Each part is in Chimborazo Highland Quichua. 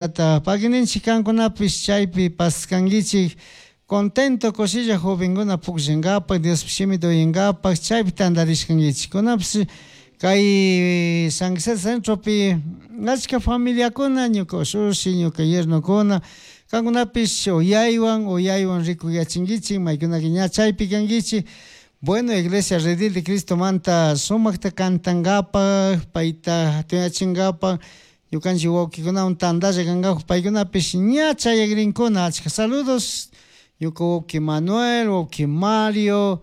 Pagui ninchij cancunapish chaipi pascanguichij contento cushilla jovencuna pugllangapaj Diospaj shimita uyangapaj chaipi tandarishcanguichij. Cunapish cay San José centropi achca familiacuna ñuka ushushi, ñuka yernocuna cancunapish uyaihuan uyaihuan ricuyachinguichik maykunaka ña chaipi canguichik. Bueno, Iglesia Redil de Cristomanta sumajta cantangapaj payta jatunyachingapaj ñukanchik wawkikunawan tandalla kangapak paykunapish ña chayagrinkuna achka saludos ñuka wawki Manuel, wawki Mario,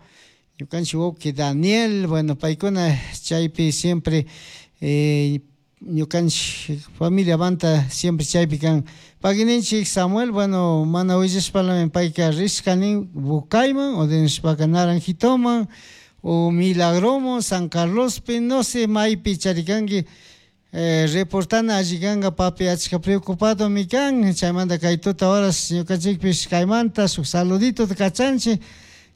ñukanchik wawki Daniel, bueno paykuna chaypi siempre ñukanchik familiamanta siempre chaypi kan. Pagui ninchik Samuel, bueno mana willashpalami payka rishka nin Bucayman o nishpaka Naranjitoman o Milagroman, San Carlospi, no sé maypi charikanki reportana alli kanka papi achka preocupadomi kan chaymanta kay tuta horas ñukanchikpish kaymanta shuk saluditota kachanchik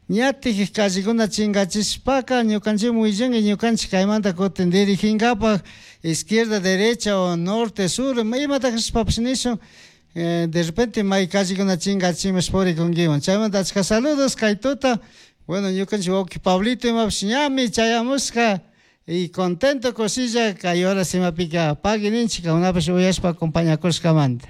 ñatik callecuna chingachishpaka ñukanchikmi willanki ñukanchik kaymanta kutin diriginkapak izquierda, derecha o norte, sur imata kashpapish nishun de repente may callecuna chingachimash purikunkiman chaymanta achka saludos kay tuta bueno ñukanchik wawki Pablito imapish ñami chayamushka y contento kushilla kay horas imapika pagui ninchik kankunapish uyashpa acompañakushkamanta.